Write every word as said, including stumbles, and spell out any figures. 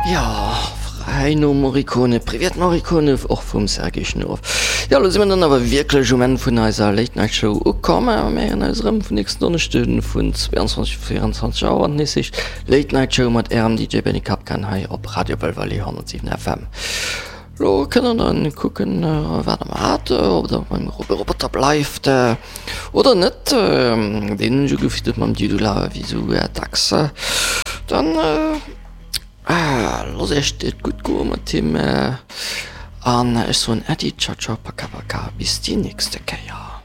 Jo, fräi nom Morricone, Privet Morricone, och vum Sergei Schnurov. Jo, elo si mir dann awer wierklech um Enn vun eiser Late Night Show ukomm. A mir héieren eis erëm vun nächsten Donneschde vun zweiundzwanzeg op vierundzwanzeg Auer, wann et nees heescht Late Night Show mat ärem D J Benny Kapkan hei op Radio Belval honnertsiwen F M. Lo kënnt der dann kucken, wat der mat, ob der beim Roboter bleift oder net. Deen hunn ech ugefiddert mam Dudula wéi sou dacks. Dann loosst iech et gutt goe mat him an ech soen Äddi, ciao ciao, paka paka, bis déi nächste Kéier.